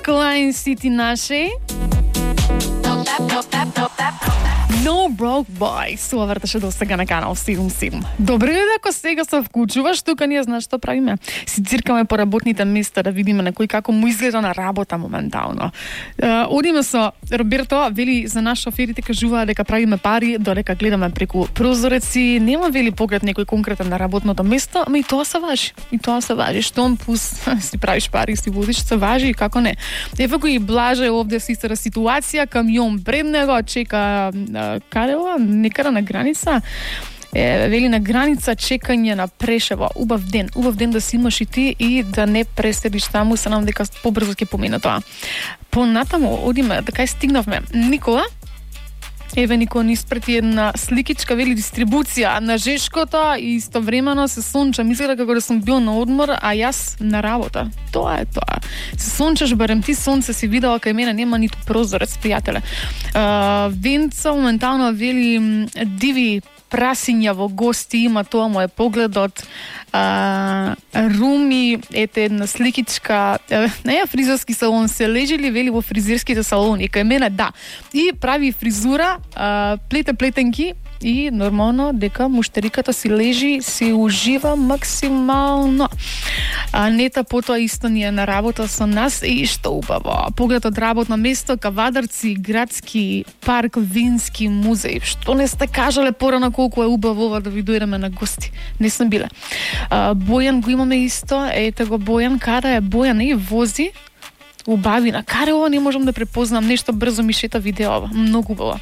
Disco Line City наши. No Broke Boys, тоа вртеше до сега на канал 77. Добре е ако сега се вклучуваш, тука ние знаеш што правиме. Си циркаме по работните места да видиме на кој како му изгледа на работа моментално. Одиме со Роберто, вели за нас шоферите кажуваа дека правиме пари додека гледаме преку прозореци, нема вели поглед некој конкретен на работното место, ама и тоа се важи. И тоа се важи. Штом пус си правиш пари, си водиш, се важи и како не. Еве го и Блаже овде се истата ситуација, камион пред него чека каде ова? Некаде на граница. Вели на граница чекање на Прешево. Убав ден да си имаш и ти и да не преседиш таму, се надам дека побрзо ќе помине тоа. Понатаму одиме, така и стигнавме. Никола, еве Никола ни испрати една сликичка, вели дистрибуција на Жешкото и истовремено се сончам. Изгледа како да сум бил на одмор, а јас на работа. Тоа е тоа. Се сончаш, барем ти сонце си видела кај мене, нема ниту прозорец, пријателе. Венца моментално вели диви прасиња во гости, има тоа му е погледот. Руми, ете една сликичка, не фризерски салон, се лежели вели во фризерските салони, кај мене да. И прави фризура, плете плетенки и нормално дека муштериката си лежи, си ужива максимално. Нета потоа исто ни е на работа со нас и што убаво. Поглед од работно место, Кавадарци, градски парк, вински музеј. Што не сте кажале порано колку е убаво ова да ви дојдеме на гости? Не сме биле. Бојан го имаме исто, ете го Бојан, каде е Бојан и вози убавина. Каре ова не можам да препознам, нешто брзо ми шета видео, многу убаво.